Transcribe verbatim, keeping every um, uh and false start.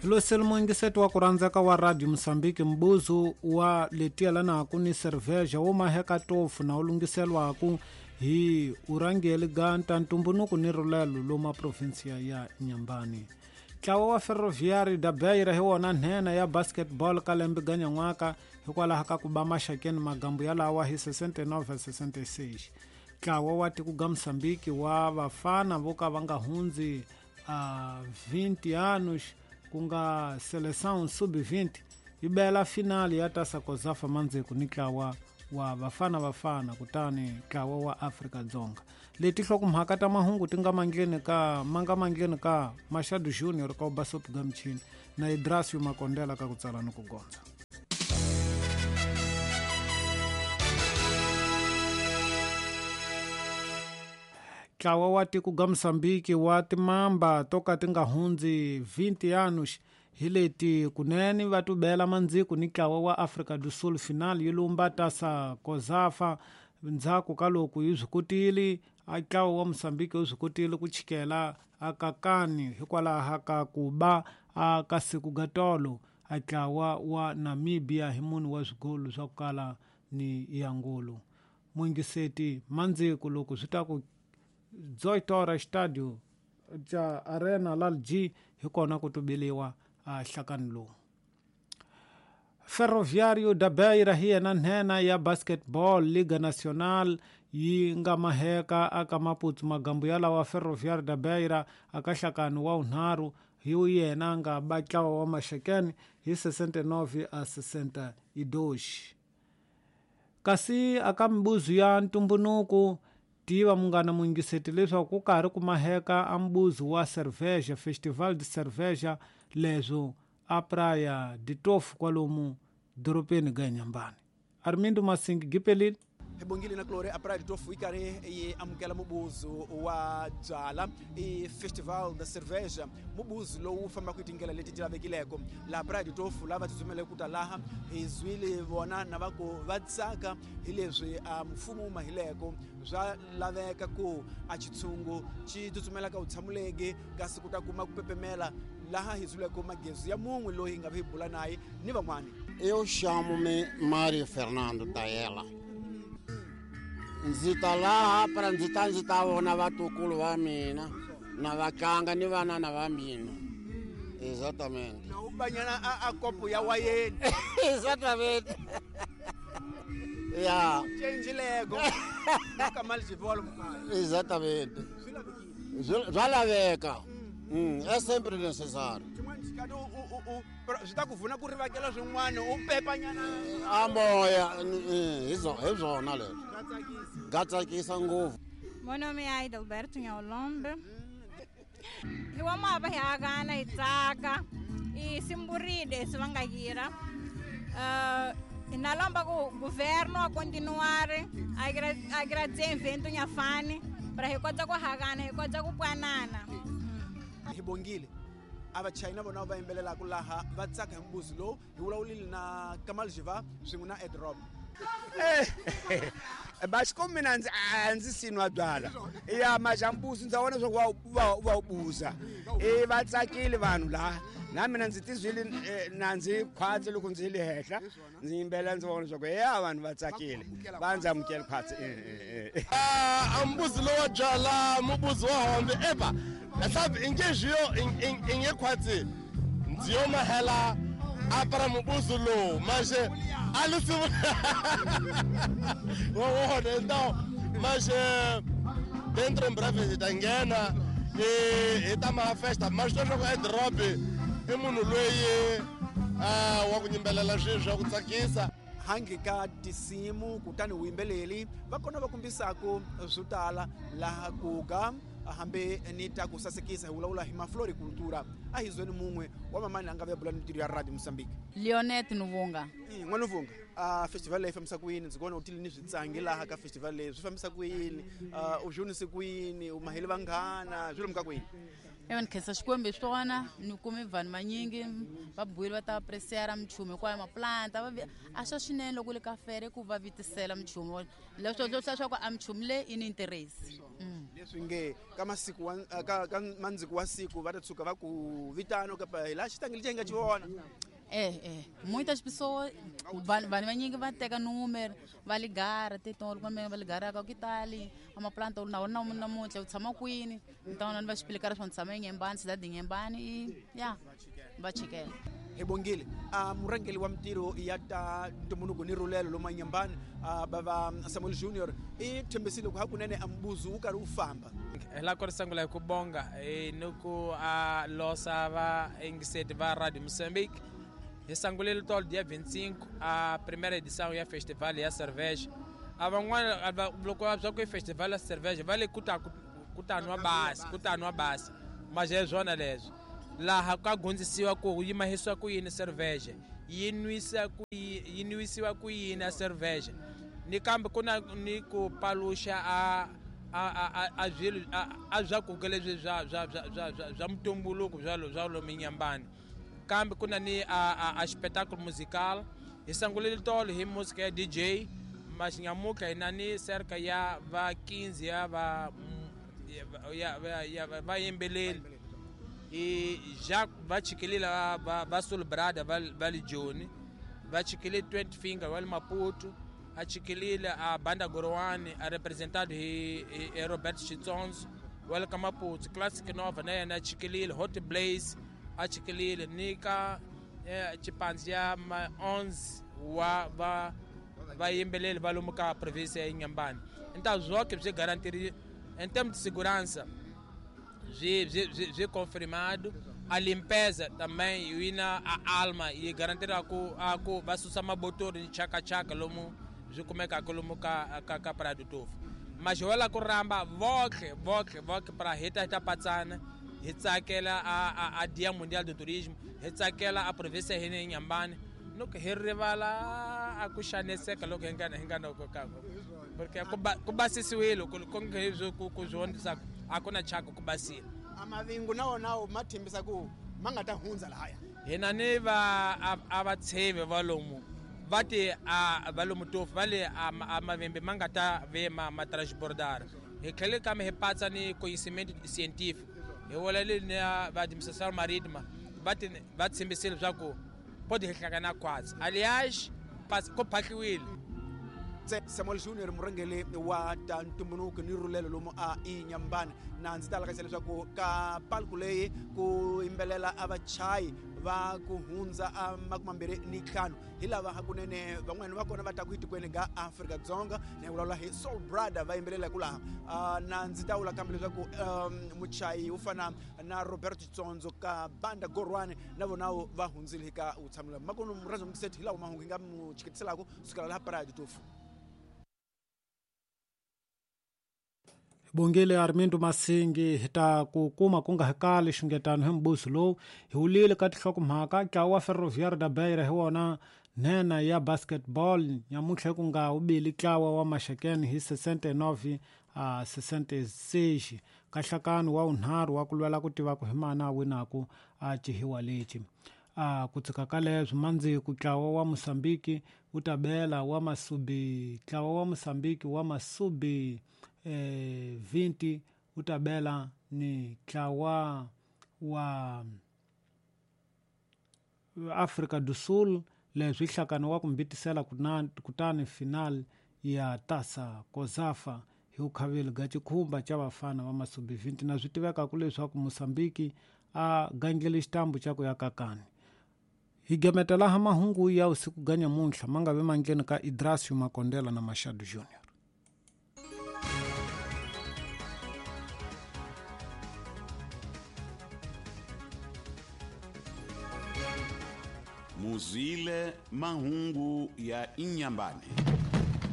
Losel muingiseti wa ku rhandzeka wa Radio Mozambique mbuzu wa letielanaku ni cerveja wo maheka tofu na wu lunghiselwaku hi urangeli ga ntantumbunuku ni rulelo loma provinsia ya Inhambane. Ntlawa wa Ferroviário da Beira hi wona nhenha ya basketball ka lembe ga nyan'waka hikwalaho ka ku ba maxakeni magambu yalawa hi sessenta e nove a sessenta e seis. Ntlawa wa tiko ga Mozambique wa vafana vo ka va nga hundzi a vinte anos ku nga Seleção sub vinte yi bela finali ya Taça Cosafa mandzheku ni ntlawa wa Bafana Bafana kutani ntlawa wa Afrika Dzonga. Leti nhlokomhaka ta mahungu ti nga mandleni ka manga mandleni ka Machado Junior ka Basop Gamchini na Idrasio Makondela ka ku tsala ni ku gondza. Ntlawa wa tiko ga Mozambique wa timamba to ka ti nga hundzi vinte anos hi leti kunene va tubela mandziku ni ntlawa wa Afrika do Sul final yi lumba Taça Cosafa ndzhaku ka loko yi swi kotile a ntlawa wa Mozambique wu swi kotile ku chikela akakani hikwalaho ka ku ba a ka siku ga tolo a ntlawa wa Namibia hi munhu wa swigolo swa ku kala ni yangulu. Muingiseti mandziku loko swi ta ku dezoito horas estádio ja Arena Lalji hi kona ku tubeliwa a hlakani lowu. Ferroviário da Beira hi yena nhenha ya basketball Liga Nacional yi nga maheka aka Maputo magambu yalawa Ferroviário da Beira aka hlakani wa unharhu hi yena nga ba ntlawa wa maxakeni hi sessenta e nove a sessenta e dois. Kasi aka mibuzu ya ntumbunuku tiva munghana muingiseti leswaku ku karhi ku maheka a mbuzu wa cerveja Festival de Cerveja leswo a Praia de Tofu kwalomu doropeni ga Inhambane. Armindo Masingi gipelile. Hi bongile na Glory a Praia de Tofu yi karhi yi amukela mubuzu wa byala i Festival da Cerveja, mubuzu lowu fambaka hi tindlela leti ti lavekileko laha Praia de Tofu lava tsutsumeleke ku ta laha hi zwile vona na va ku va tsaka hi leswi a mfumo wu mahileko swa laveka ku a xitshungu xi tsutsumela ka vutshamuleki kasi ku ta kuma ku pepemela laha hi zwileko magezi ya mun'we loyi hi nga vi bula naye ni van'wani. Eu chamo-me Mário Fernando Taela. Ndzi ta laha para ndzi ta ndzi ta vona vatukulu va mina na vatlanga ni vanana va mina. Exatamente. Na u banyana a, a kopo ya wayeni. Exatamente. Ya. Change lego. Ka mali xivolo mukaya. Exatamente. Swi laveka. Mm, é sempre necessário. Xin'wana xikati u u u swi ta ku pfuna ku rivakela swin'wana u pepanyana a moya hi hi swona leswi. Ga tsakisa ngopfu. Meu nome é Aida Alberto Nhaolombe. Hi wa mava hi akana hi tsaka i simburide swi va nga yira. Uh, na lomba ku governo a continuar a agradecer evento nhafani para hi kota ku hakana hi kota ku pwanana. Hi bongile a vachayina vona va yimbelelaka laha va tsaka hi mbuzi lowu hi vulavulile na Kamal Jiva swin'we na Ed Rob. Basiko mina ndzi a ndzi sinwa byala ya majambuzi ndza vona swa ku va va buza e va tsakile vanhu laha na mina ndzi tizwile na ndzi khwatsi loko ndzi le henhla ndzi yimbela ndzi vona swa ku ya vanhu va tsakile va ndzi amukela khwatsi. A mbuzi lowa byala mubuzi wa hombe eba sabe ingejiyo inge khwatsi ndzi yo mahela a para mubuzi lowu manje alisi wona então mas dentro em breve hi ta nghena hi ta maha festa mas leswaku Ed Rob i munhu loyi wa ku yimbelela swilo swa ku tsakisa hangi ka tinsimu kutani vuyimbeleli va kona va kombisaku swo tala laha ku ga hambi ni ta ku sasekisa hi vulavula hi mafloricultura a hi zweni mun'we wa mamani a nga ve bula ni ntirho ya Radio Mozambique. Leonet Nuvunga. N'wana Nuvunga, a festival leyi fambisa ku yini? Ndzi vona u tile ni switsangi laha ka festival leyi swi fambisa ku yini? U dyondzise ku yini? U mahele vanghana swi lomuka ku yini? Ewa ni khensa Xikwembu hi swona ni kume vanhu vanyingi va buile va ta apreciar minchumu hinkwayo maplanta va a swa swinene loko le ka fere ku va vitisela minchumu leswo leswaku a minchumu leyi i ni interest. Leswi nge ka masiku wa ka ka mandziku wa siku va ta tshuka va ku vitana kapa hi laha xitangele xi hi nga xi vona. É, é. Muitas pessoas, vanhu vanyingi va teka número, va ligara, titolo kumbe va ligara ka que tá ali, uma planta na na namuntlha u tshama kwini, então va explicar swa tshama eNyembani, cidade de Inhambane e ya, va chikela. Hi bongile a murhangeri wa mintirho ya ta ntumbuluko ni rhulelo lomu Inhambane bava Samuel Junior i tshembisile ku hakunene a mbuzu wu karhi wu famba. Hi la ku ri sungula hi ku bonga ni ku a losa va yingiseti va Radio Moçambique. Hi sungulile tolo dia vinte e cinco a primeira edição ya festival ya cerveja. A van'wana loko va swa ku i festival ya cerveja va le ku ta ku ta nwa basi, ku ta nwa basi. Mas é swona leswi. Laha ka gondzisiwa ku yi mahisiwa ku yini cerveja, yi nwisa ku yi nwisiwa ku yini a cerveja. Ni kambe ku na ni ku paluxa a a a swilo a swakudya leswi swa swa swa swa mutumbuluko swa swa lomu Inhambane. Kambe ku na ni a a espetáculo musical. Hi sungulile tolo hi música ya D J, mas nyamuka hi na ni cerca ya va quinze ya va ya ya vayimbeleri. E já va chikelile va va Sul Brother va va le Joni, va chikelile twenty Finger va le Maputo, a chikelile a Banda Gorwani a representado hi hi Robert Chitsonzo wa le ka Maputo, Classic Nova na yena a chikelile, Hot Blaze a chikelile ni ka chipanzi ya ma onze wa va vayimbeleri va lomu ka província ya Inhambane. Então zonke byi garantiri em termos de segurança, byi byi byi confirmado. A limpeza também e na a alma e garantir a ku a ku va susa mabotori ni chaka chaka lomu byi kumeka lomu ka ka ka Praia do Tofo. Mas wala ku ramba voke voke voke para hita hita patsana hi tsakela a a a Dia Mundial do Turismo, hi tsakela a província hina Inhambane, loko hi rivala a ku xaniseka loko hi nga hi nga noko ka porque ku basisiwile ku ku ku ku swi a ku na chaka ku basile. A mavingu na wona ma tshembisa ku ma nga ta hundza lahaya. Hina ni va a va tsheve va lomu va ti a va lomu Tofo va le a mavembe ma nga ta ve ma ma transbordar. Hi tlhele kambe hi patsa ni conhecimento científico. Hi vulavule na va administração marítima va ti va tshembisile leswaku pode hi hlangana khwatsi. Aliás, ku phahliwile. Samuel Junior murhangeri wa ta ntumbuluko ni rhulelo lomu a Inhambane. Na ndzi ta lakasa leswaku ka palku leyi ku yimbelela a vachayi va ku hundza a makume mambirhi ni ntlhanu hi lava hakunene van'wani va kona va ta ku etikweni ga Afrika-Dzonga na hi vulavula hi Soul Brother va yimbelela ku laha. Na ndzi ta vula kambe leswaku muchayi wo fana na Roberto Chitsonzo ka Banda Gorwani na vona va hundzile ka vutshamelo. Makumu murhandzi wa hi lawa mahungu hi nga mu chiketiselaka sukela laha Praia do Tofo. Bongile Armindo Masingi hi ta ku kuma ku nga hakali xungetano hi mbuso lowu hi wulile ka tinhlokomhaka ntlawa wa Ferroviário da Beira hi wona nhenha ya basketball nyamuntlha ku nga wubili ntlawa wa Maxakeni hi sessenta e nove a sessenta e seis ka nhlakano wa wunharhu wa ku lwela ku tiva ku hi mani a winaku a cihiwa lexi. A ku tshika ka leswi mandziku ntlawa wa Moçambique wu ta bela wa Masubi ntlawa wa Moçambique wa Masubi eh vinte wu ta bela ni ntlawa wa Afrika do Sul leswi nhlakano wa ku mbitisela kutani final ya Taça COSAFA hi vukhaveli bya xikhumba xa vafana va Masubi vinte. Na swi tivekaka leswaku Moçambique a gandlele xitambu xa ku ya kakani. Hi gemeta laha mahungu ya usiku ga nyamuntlha ma nga vi mandleni ka Idrasio Makondela na Machado Junior. Muzile mahungu ya Inhambane.